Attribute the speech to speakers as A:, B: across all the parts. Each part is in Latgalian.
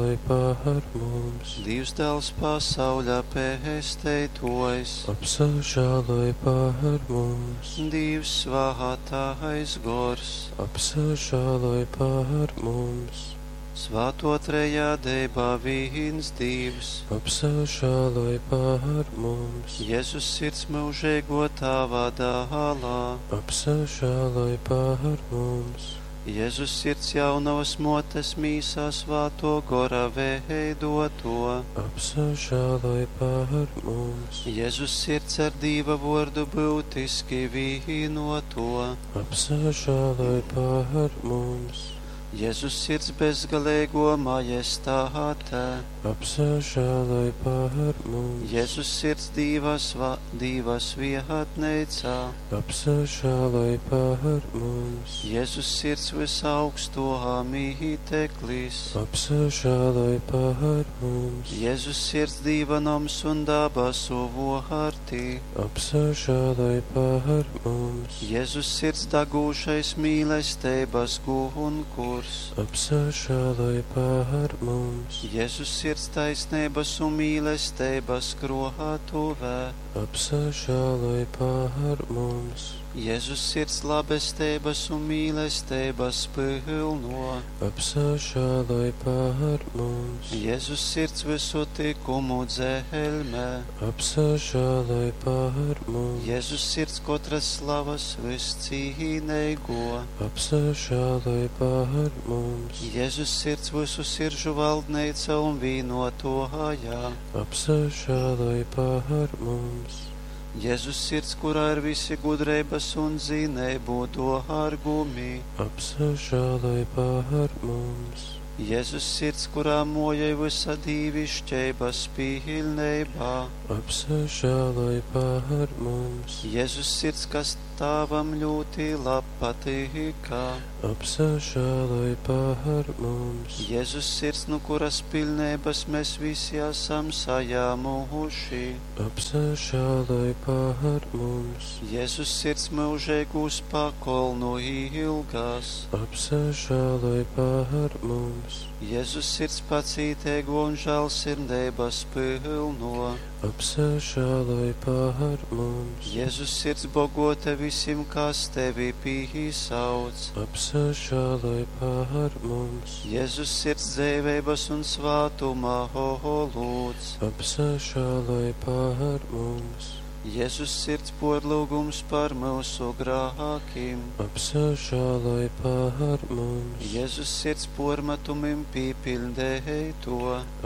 A: Apsažāloj par mums!
B: Dīvs Dāls pasauļa pesteituojs,
A: Apsažāloj par mums!
B: Dīvs svātais gors,
A: Apsažāloj par mums!
B: Svāto trejādeiba vīns Dīvs,
A: Apsažāloj par mums!
B: Jezus sirds myužeiguo Tāva dālā,
A: Apsažāloj par mums!
B: Jezus sirds jaunovas muotes mīsā svātuo gora veidotuo,
A: Apsažāloj par mums!
B: Jezus sirds ar Dīva vuordu byutiski vīnuotuo,
A: Apsažāloj par mums!
B: Jezus sirds bezgaleiguo majestāte,
A: Apsažāloj par mums!
B: Jezus sirds Dīva, sva, Dīva svietneicā,
A: Apsažāloj par mums!
B: Jezus sirds visaugstuo mīteklis,
A: Apsažāloj par mums!
B: Jezus sirds Dīva noms un dabasu vuorti,
A: Apsažāloj par mums!
B: Jezus sirds dagūšais mīlesteibas gunkurs,
A: Apsažāloj par mums!
B: Jezus sirds taisneibas un mīlesteibas kruotuvē,
A: Apsažāloj par mums!
B: Jezus sirds labesteibas un mīlesteibas pylno,
A: Apsažāloj par mums!
B: Jezus sirds visu tikumu dzeļmē,
A: Apsažāloj par mums!
B: Jezus sirds kotras slavas viscīneigo,
A: Apsažāloj par mums!
B: Jezus sirds visu siržu valdneica un vīnotojā,
A: Apsažāloj par mums!
B: Jezus sirds, kurā ir visi gudreibas un zineibu dōrgumi,
A: Apsažāloj par mums!
B: Jezus sirds, kurā mojai visa dīvišķeibas pilneibā,
A: Apsažāloj par mums!
B: Jezus sirds, kas Tāvam ļoti lab patīkā,
A: Apsažāloj par mums!
B: Jezus sirds, nu kuras pilneibas mēs visi esam sajāmuši,
A: Apsažāloj par mums!
B: Jezus sirds mūžīgūs pakolnu ilgās,
A: Apsažāloj par mums!
B: Jezus sirds pacītēgo un žēlsirdības pilno,
A: Apsažāloj par mums!
B: Jezus sirds bogota visim, kas tevi pīsauc,
A: Apsažāloj par mums!
B: Jezus sirds dzēveibas un svātuma holūds,
A: Apsažāloj par mums!
B: Jezus sirds porlūgums par mūsu grākiem,
A: Apsažāloj par mums!
B: Jezus sirds pormetumim pīpildēto,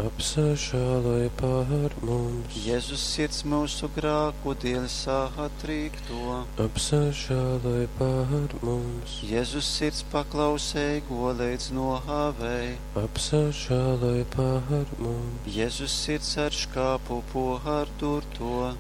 A: Apsažāloj par mums!
B: Jezus sirds mūsu grāku dēļ satrīkto,
A: Apsažāloj par mums!
B: Jezus sirds paklausēgo līdz nohavei,
A: Apsažāloj par mums!
B: Jezus sirds ar škāpu pohardurto,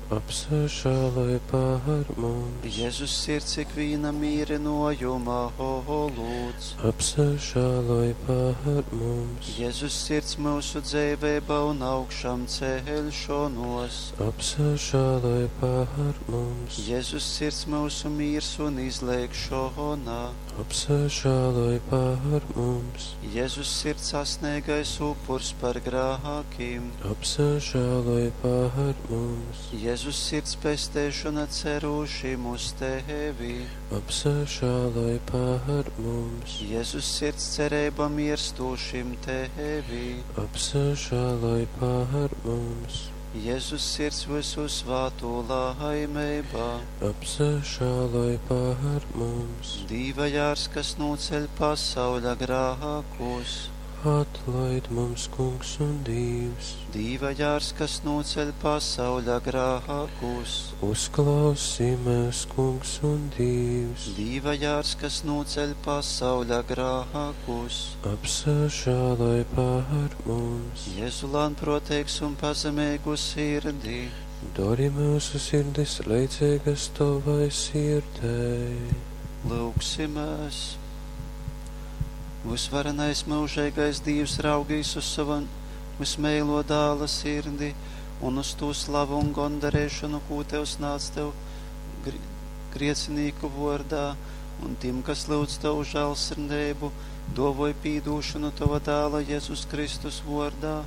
A: Apsažāloj par mums!
B: Jezus sirds ikviena mīrinojuma holūds,
A: Apsažāloj par mums!
B: Jezus sirds mūsu dzēvēba un augšām ceļšanos,
A: Apsažāloj par mums!
B: Jezus sirds mūsu mīrs un izlēkšana,
A: Apsažāloj par mums!
B: Jezus sirds sasniegais upurs par grākiem,
A: Apsažāloj par mums!
B: Jezus sirds pestēšana cerūšim uz tevi,
A: Apsažāloj par mums!
B: Jezus sirds cerība mirstošim tevi,
A: Apsažāloj par mums!
B: Jezus sirds visu svāto laimeibā,
A: Apsažāloj par mums!
B: Dīva jārs, kas noceļ pasauļa grākus,
A: Atlaid mums, Kungs un Dievs!
B: Dīva jārs, kas noceļ pasauļa grākus,
A: Uzklausī mēs, Kungs un Dievs!
B: Dīva jārs, kas noceļ pasauļa grākus,
A: Apsažāloj par mums!
B: Jēzu lānproteigs un pazemīgu sirdī,
A: Dari mūsu sirdis leidzīgas tavai sirdei.
B: lūgsimies! Visvarenais mūžīgais Dievs raugīs uz savu vismīlo dāla sirdi un uz to slavu un gondarēšanu, ko tev snāc tev griecinīku vārdā, un tiem, kas lūdz tavu žēlsirdību, Duovoj pīdūšonu Tova Dāla Jezus Kristus vuordā.